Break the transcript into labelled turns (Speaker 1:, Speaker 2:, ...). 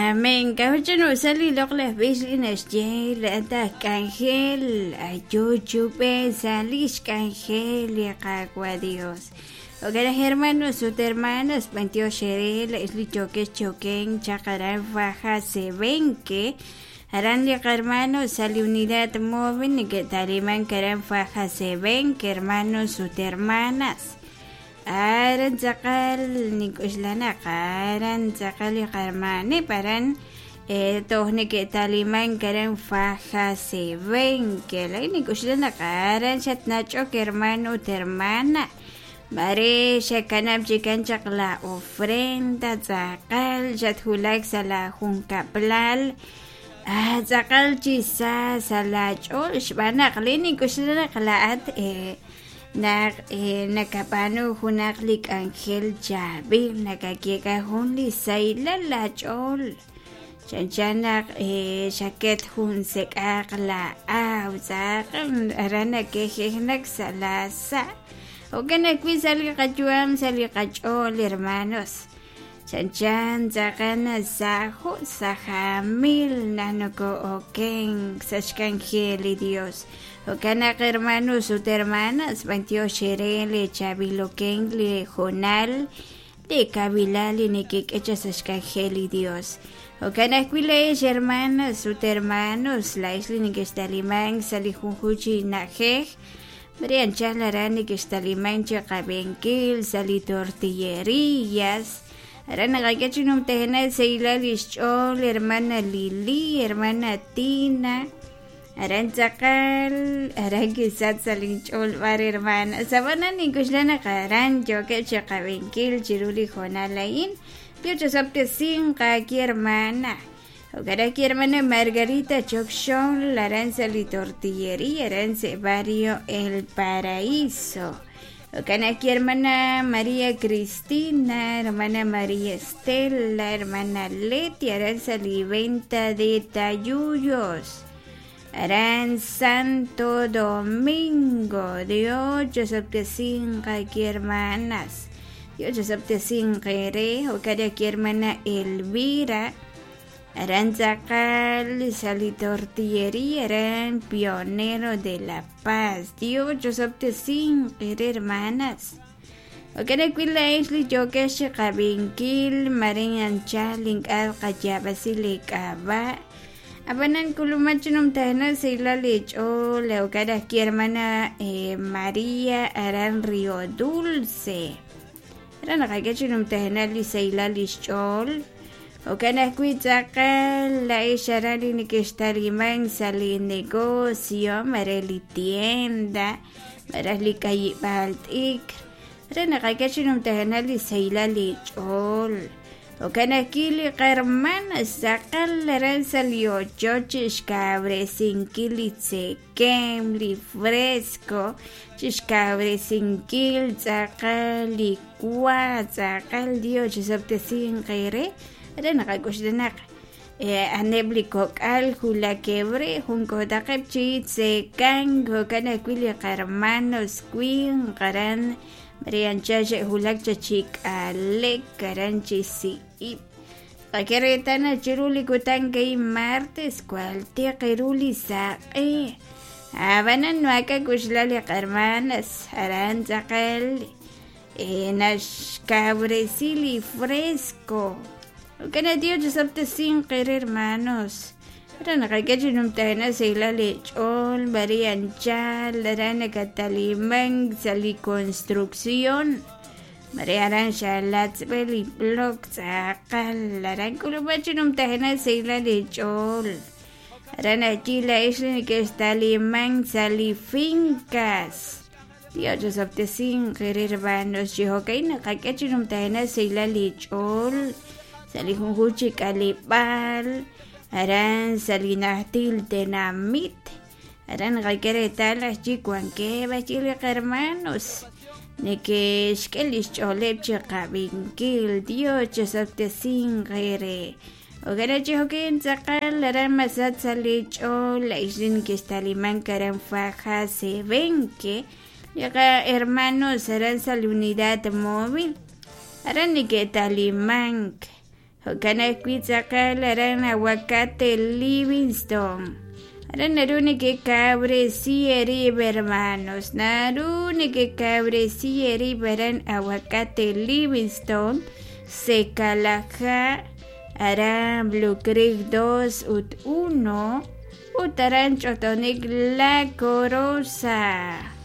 Speaker 1: Amén. K'a'ut sa' li loq'laj b'ich li naxye laa'at aj k'anjel ayu chub'e sa' lix k'anjel li Qaawa' Dios. Jo'kan naq hermanos ut hermanas, b'antiox eere laa'ex li yookex chi okenk chaq aran Faja Sebenque, aran li qahermanos sa' li unidad móvil neke'ta'limank aran Faja Sebenque, hermanos ut hermanas. Aran tz'aqal nink'oxla naq aran tz'aqal li qahermaneb' aran toj neke'ta'limank aran Faja Sebenque. Laa'in nink'oxla naq aran xatnach'ok hermano ut hermana. Mare xakanab' chikan chaq la ofrenda tz'aqal xatwulak sa' la junkab'lal tz'aqal chi sa sa' laach'ool xb'aan naq li nink'oxla naq laa'at naq nakab'aanu junaq li k'anjel chaab'il nakayeek'a jun li sahilal laach'ool chanchan naq xaket jun sek'aq la aaw tz'aqal aran nakejejnak sa' laasa' jo'kan ajwi' sa' li qayu'am sa' li qach'ool hermanos chanchan tz'aqal nasaho' sa' jaamil naq noko'okenk sa' xk'anjel li Dios jo'kan naq hermanos ut hermanas b'antiox eere li chaab'il okenk li hoonal li kawilal li nekek'e chaq sa' xk'anjel li Dios jo'kan ajwi' laa'ex hermanas ut hermanos laa'ex li nekexta'limank sa' li junjunq chi na'ajej mare anchal aran nekexta'limank chi qab'inkil sa' li tortillerías aran naqak'e chi numtajenaq sahilal lix ch'ool hermana Lili hermana Tina aran tz'aqal aran kisach sa' linch'ool b'ar hermana sab'anan nink'oxla naq aran yookeb' chi qab'inkil chiru li hoonal a'in Dios chosob'tesinq aawe hermana jo'kan ajwi' hermana Margarita Chokxol aran sa' li tortillería aran sa' barrio El Paraíso jo'kan ajwi' hermana María Cristina hermana María Estela hermana Leti aran sa' li venta de tayuyos aran Santo Domingo Dios chosob'tesinq aawe hermanas Dios chosob'tesinq eere jo'kan ajwi' hermana Elvira aran tz'aqal sa' li tortillería aran Pionero de la Paz Dios chosob'tesinq eere hermanas jo'kan ajwi' laa'ex li yookex chi qab'inkil mare anchal ink'a' qayaab'asi li k'ab'a' ab'anan k'uluman chi numtajenaq sahilal li ch'ool jo'kan ajwi' hermana María aran Río Dulce aran naqak'e chi numtajenaq li sahilal li xch'ool jo'kan ajwi' tz'aqal laa'ex aran li nekextalimank sa' li negocio mare li tienda malaj li k'ayib'aal t'ikr re naqak'e chi numtajenaq li sahilal li ch'ool jo'kan ajwi' li qahermana tz'aqal aran sa' li ochoch chixkawresinkil li tzekemq li fresco chixkawresinkil tz'aqal li wa tz'aqal Dios chisob'tesinq eere re naqak'oxla naq a'aneb' li kok'al wulakeb' re jun k'ootaqeb' chi tzekank jo'kan ajwi' li qahermanos winq aran mare anchal xe'wulak chaq chi k'alek aran chi si'ib' qak'e reetal naq chiru li kutan a'in martes jwal tiq ru li saq'e ab'anan maak'a' k'uxla li qahermanas aran tz'aqal naxkawresi li fresco jo'kan naq Dios chisob'tesinq eere hermanos re naqak'e chi numtajenaq sahilal li ch'ool mare anchal aran nakatalimank sa' li construcción mare aran xalatzb'e li block tz'aqal aran k'ulub'an chi numtajenaq sahilal li ch'ool aran ajwi' laa'ex li nekextalimank sa' li fincas Dios chisob'tesinq eere hermanos chi jo'ka'in naqak'e chi numtajenaq sahilal li ch'ool sa' li junjunq chi k'aleb'aal aran sa' li najtil tenamit aran naqak'e reetal ajwi' wankeb' ajwi' li qahermanos neke'xk'e li xch'ooleb' chi qab'inkil Dios chisob'tesinq eere jo'kan chi jo'kin tz'aqal aran masach sa' li ch'ool la'ex li nekextalimank aran Faja Sebenque li qahermanos aran sa' li unidad móvil aran neke'talimank. Jo'kan ajwi' tz'aqal aran Aguacate Livingston. Aran naru nekekawresi eerib' hermanos. Naru nekekawresi eerib' aran Aguacate Livingston, Secalaja, aran Blue Creek 2 ut 1, ut aran Ch'otonik La Corosa.